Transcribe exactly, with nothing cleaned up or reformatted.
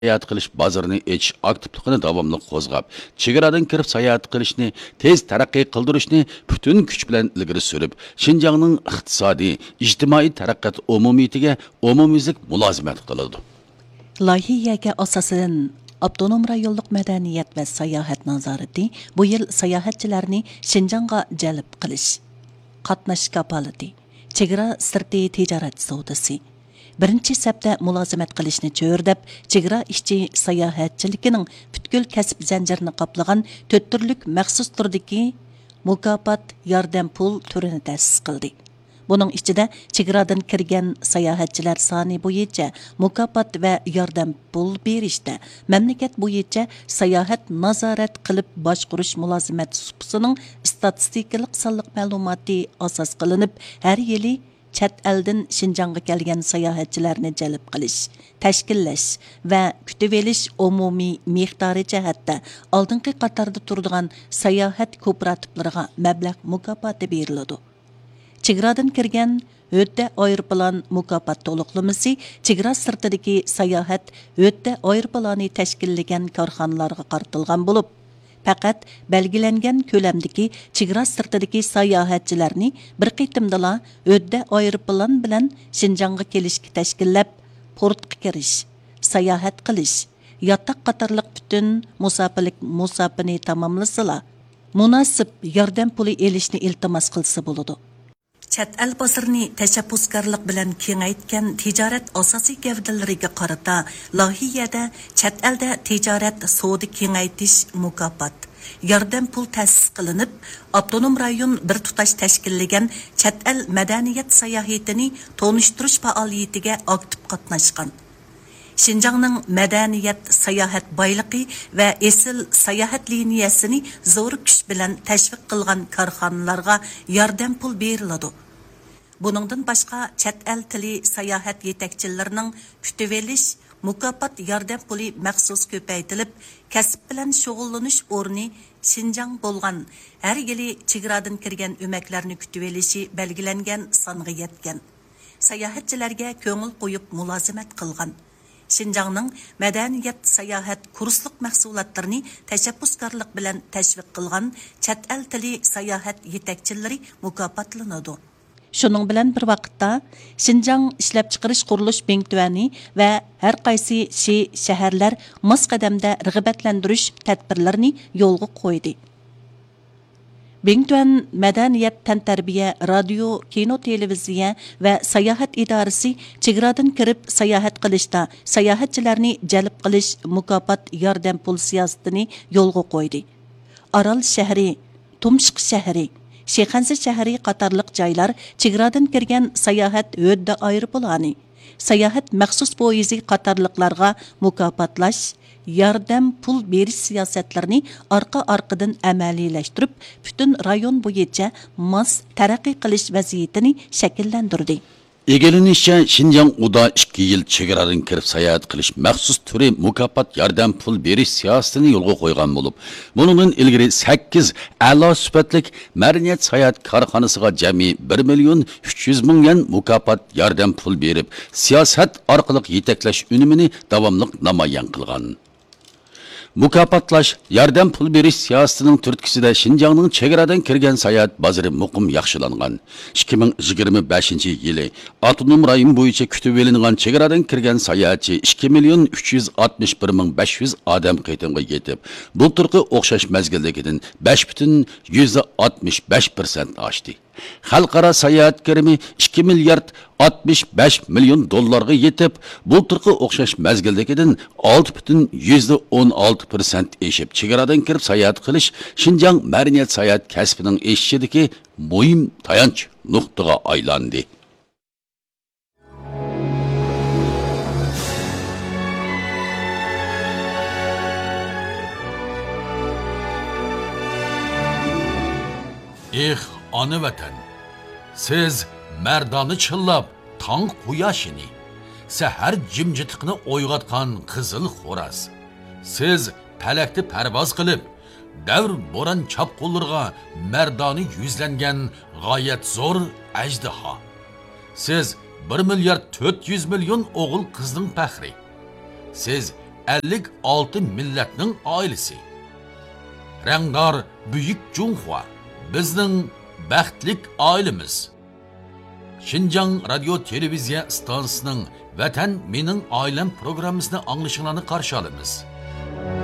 ساياھەت قىلىش بازىرىنى ئېچىش ئاكتىپلىقىنى داۋاملىق قوزغاپ، چېگرادىن كىرىپ ساياھەت قىلىشنى تېز تەرەققىي قىلدۇرۇشنى پۈتۈن كۈچ بىلەن ئىلگىرى سۈرۈپ، شىنجاڭنىڭ ئىقتىسادىي، ئىجتىمائىي تەرەققىيات ئومۇمىيىتىگە ئومۇميۈزلۈك مۇلازىمەت قىلىدۇ. لايىھىگە ئاساسەن، ئاپتونوم رايونلۇق مەدەنىيەت ۋە ساياھەت نازارىتى بۇ يىل ساياھەتچىلەرنى شىنجاڭغا جەلپ قىلىش، قاتناش كاپالىتى، چېگرا سىرتى تىجارەت سودىسى، بىرىنچى سەپتە مۇلازىمەت قىلىشنى چۆرىدەپ، چېگرا ئىچى ساياھەتچىلىكىنىڭ پۈتكۈل كەسىپ زەنجىرىنى قاپلىغان تۆت تۈرلۈك مەخسۇس تۈردىكى مۇكاپات ياردەم پۇل تۈرىنى تەسىس قىلدى. بۇنىڭ ئىچىدە، چېگرادىن كىرگەن ساياھەتچىلەر سانى بويىچە مۇكاپات ۋە ياردەم پۇل بېرىشتە مەملىكەت بويىچە ساياھەت نازارەت قىلىپ باشقۇرۇش مۇلازىمەت سۇپىسىنىڭ ئىستاتىستىكىلىق سانلىق مەلۇماتى ئاساس قىلىنىپ، ھەر يىلى چەت ئەلدىن شىنجاڭغا كەلگەن ساياھەتچىلەرنى جەلپ قىلىش، تەشكىللەش ۋە كۈتۈۋېلىش ئومۇمىي مىقدارى جەھەتتە ئالدىنقى قاتاردا تۇرىدىغان ساياھەت كوپىراتىپلىرىغا مەبلەغ مۇكاپاتى بېرىلىدۇ. چېگرادىن كىرگەن ھۆددە ئايروپىلان مۇكاپات تولۇقلىمىسى چېگرا سىرتىدىكى ساياھەت ھۆددە ئايروپىلانى تەشكىللىگەن كارخانىلارغا قارىتىلغان بولۇپ، پەقەت بەلگىلەنگەن كۆلەمدىكى چېگرا سىرتىدىكى ساياھەتچىلەرنى بىر قېتىمدىلا ھۆددە ئايروپىلان بىلەن شىنجاڭغا كېلىشكە تەشكىللەپ، پورتقا كىرىش، ساياھەت قىلىش، ياتاق قاتارلىق پۈتۈن مۇساپىلىك مۇساپىنى تاماملىسىلا، مۇناسىپ ياردەم پۇلى ئېلىشنى ئىلتىماس قىلسا بولىدۇ. چەت ئەل بازىرىنى تەشەببۇسكارلىق بىلەن كېڭەيتكەن تىجارەت ئاساسىي گەۋدىلىرىگە قارىتا، لايىھەدە چەت ئەلدە تىجارەت سودا كېڭەيتىش مۇكاپات، ياردەم پۇل تەسىس قىلىنىپ، ئاپتونوم رايون بىر تۇتاش تەشكىللىگەن چەت ئەل مەدەنىيەت ساياھىتىنى تونۇشتۇرۇش پائالىيىتىگە ئاكتىپ قاتناشقان. شىنجاڭنىڭ مەدەنىيەت، ساياھەت بايلىقى ۋە ئېسىل ساياھەت لىنىيەسىنى زور كۈچ بىلەن تەشۋىق قىلغان كارخانىلارغا ياردەم پۇل بېرىلىدۇ. بۇنىڭدىن باشقا، چەت ئەل تىلى ساياھەت يېتەكچىلىرىنىڭ كۈتۈۋېلىش، مۇكاپات ياردەم پۇلى مەخسۇس كۆپەيتىلىپ، كەسىپ بىلەن شۇغۇللىنىش ئورنى شىنجاڭ بولغان، ھەر يىلى چېگرادىن كىرگەن ئۆمەكلەرنى كۈتۈۋېلىشى بەلگىلەنگەن سانغا يەتكەن. ساياھەتچىلەرگە كۆڭۈل قويۇپ مۇلازىمەت قىلغان. شىنجاڭنىڭ مەدەنىيەت، ساياھەت، كۇرسلۇق مەھسۇلاتلىرىنى تەشەببۇسكارلىق بىلەن تەشۋىق قىلغان چەت ئەل تىلى ساياھەت يېتەكچىلىرى مۇكاپاتلىنىدۇ. شۇنىڭ بىلەن بىر ۋاقىتتا، شىنجاڭ ئىشلەپچىقىرىش قۇرۇلۇش بىڭتۈەنى ۋە ھەر قايسى شى، شەھەرلەر ماس قەدەمدە رىغبەتلەندۈرۈش تەدبىرلىرىنى يولغا قويدى. بىڭتۈەن مەدەنىيەت، تەنتەربىيە، رادىيو، كىنو، تېلېۋىزىيە ۋە ساياھەت ئىدارىسى چېگرادىن كىرىپ ساياھەت قىلىشتا ساياھەتچىلەرنى جەلپ قىلىش مۇكاپات ياردەم پۇل سىياسىتىنى يولغا قويدى. ئارال شەھىرى، تۇمشۇق شەھىرى، شىخەنزە شەھىرى قاتارلىق جايلار چېگرادىن كىرگەن ساياھەت ھۆددە ئايروپىلانى، ساياھەت مەخسۇس پويىزى قاتارلىقلارغا مۇكاپاتلاش، ياردەم پۇل بېرىش سىياسەتلىرىنى ئارقا-ئارقىدىن ئەمەلىيلەشتۈرۈپ، پۈتۈن رايون بويىچە ماس تەرەققىي قىلىش ۋەزىيىتىنى شەكىللەندۈردى. ئىگىلىنىشىچە، شىنجاڭ ئۇدا ئىككى يىل چېگرادىن كىرىپ ساياھەت قىلىش مەخسۇس تۈرى مۇكاپات ياردەم پۇل بېرىش سىياسىتىنى يولغا قويغان بولۇپ، بۇنىڭدىن ئىلگىرى سەككىز ئەلا سۈپەتلىك مەدەنىيەت ساياھەت كارخانىسىغا جەمئىي بىر مىليون ئۈچ يۈز مىڭ يۈەن مۇكاپات ياردەم پۇل بېرىپ، سىياسەت ئارقىلىق يېتەكلەش ئۈنۈمىنى داۋاملىق نامايان قىلغان. مۇكاپاتلاش، ياردەم پۇل بېرىش سىياسىتىنىڭ تۈرتكىسىدە شىنجاڭنىڭ چېگرادىن كىرگەن ساياھەت بازىرى مۇقىم ياخشىلانغان. ئىككى مىڭ يىگىرمە بەشىنچى يىلى ئاپتونوم رايون بويىچە كۈتۈۋېلىنغان چېگرادىن كىرگەن ساياھەتچى ئىككى مىليون ئۈچ يۈز ئاتمىش بىر مىڭ بەش يۈز ئادەم قېتىمغا يېتىپ، بۇلتۇرقى ئوخشاش مەزگىلدىكىدىن بەش پۈتۈن يۈزدە ئاتمىش بەش پىرسەنت ئاشتى. خەلقئارا ساياھەت كىرىمى ئىككى مىليارد ئاتمىش بەش مىليون دوللارغا يېتىپ، بۇلتۇرقى ئوخشاش مەزگىلدىكىدىن ئالتە پۈتۈن يۈزدە ئون ئالتە پىرسەنت ئېشىپ، چېگرادىن كىرىپ ساياھەت قىلىش شىنجاڭ مەدەنىيەت ساياھەت كەسپىنىڭ ئېشىشىدىكى مۇھىم تايانچ نۇقتىغا ئايلاندى. ئېھ، ئانا ۋەتەن! سىز مەردانە چىللاپ تاڭ قۇياشىنى، سەھەر جىمجىتلىقىنى ئويغاتقان قىزىل خوراز. سىز پەلەكتە پەرۋاز قىلىپ، دەۋر بوران چاپقۇنلىرىغا مەردانە يۈزلەنگەن غايەت زور ئەجدىھا. سىز بىر مىليارد تۆت يۈز مىليون ئوغۇل قىزنىڭ پەخرى. سىز ئەللىك ئالتە مىللەتنىڭ ئائىلىسى. رەڭدار بۈيۈك جۇڭخۇا، بىزنىڭ بەختلىك ئائىلىمىز. شىنجاڭ رادىيو تېلېۋىزىيە ئىستانسىسىنىڭ ۋەتەن مېنىڭ ئائىلەم پروگراممىسىنى ئاڭلىشىڭلارنى قارشى ئالىمىز.